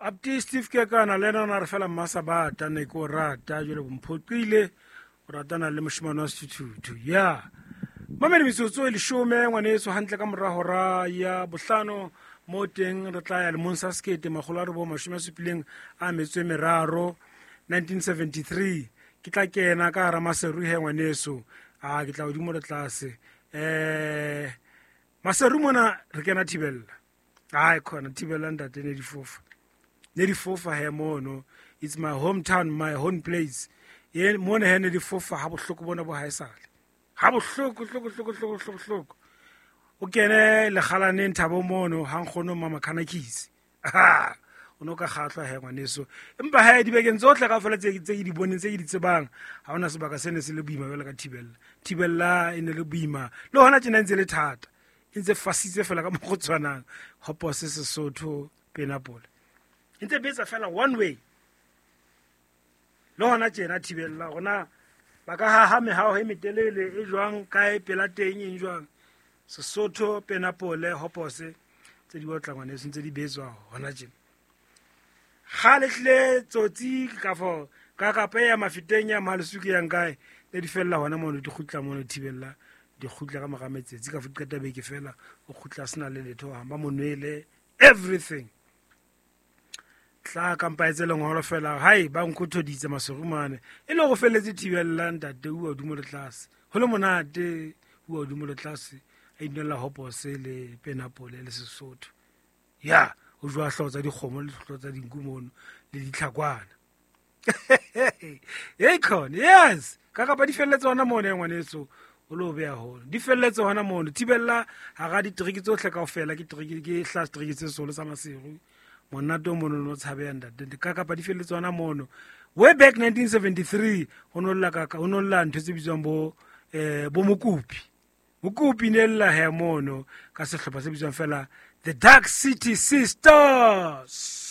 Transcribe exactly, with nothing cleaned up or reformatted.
Apti Steve Kekana le ena o na re fela mmasabata ne ke o rata jwale bomphoqile o ratana le moshemane wa sethuthuthu. Ya mamedi metsotso e leshome ngwaneso hantle ka mora hora ya bohlano mo teng re tla ya lemong sa sekete makgolo a robong mashome a supileng a metso e meraro nineteen seventy-three. Ke tla kena ka hara Maseru he ngwaneso, a ke tla hodimo le tlase. Eh Maseru mona re kena Thibella. Ai khona Thibella ntate ne di fofa. Ne di fofa he mono. It's my hometown, my home place. Ye mona he ne di fofa ha bohloko bona bo haesale. Ha bohloko hloko hloko hloko hloko hloko. O kene lekgalaneng Thabo mono ha nkgono mama Khanakisi. Ha o no ka kgahlwa he ngwaneso. Empa he dibekeng tsohle kaofela tse tse ke di boneng tse ke di tsebang ha hona sebaka se ne se le boima jwalo ka Thibella. Thibella e ne le boima le hona tjena ntse le thata. E ntse fasitse fela ka mokgwa o tshwanang. Hopose Sesotho Penapole. E ntse betsa fela one way. Le hona tjena Thibella hona ba ka haha mehaho e metelele e jwang kae pela teng eng jwang. Sesotho Penapole Hopose tse di otla ngwaneso ntse di betswa hona tjena. Kgale hle tsotsi ka fo ka kapa ya mafeteng ya Malesuke yang kae le di fella hona mono di kgutla mono Thibella di kgutla ka mora metsatsi ka fo qeta beke fela o kgutla sena le letho ha ba monwele everything. Tla kampa etse lengolo fela hai ba nkgothoditse Maserumane e le go felletse Thibella ntate o hodimo le tlase ho le monate o hodimo le tlase a inela Hopose le Penapole le Sesotho. Ya o jwa hlooho tsa dikgomo le hlooho tsa dinku mono le ditlhakwana. Hey khona yes ka kapa di felletse hona mono ya ngwaneso o lo beha hona di felletse hona mono Thibella hara diteriki tsohle kaofela ke teriki ke hla teriki tse solo sa Maseru monate o mono no tshabeha ntate ka kapa di felletse hona mono. Way back nineteen seventy-three ho no lla ka ho no lla ntho tse bitswang bo eh bo Mokopi. Mokopi ne lla he mono ka sehlopha se bitswang fela The Dark City Sisters.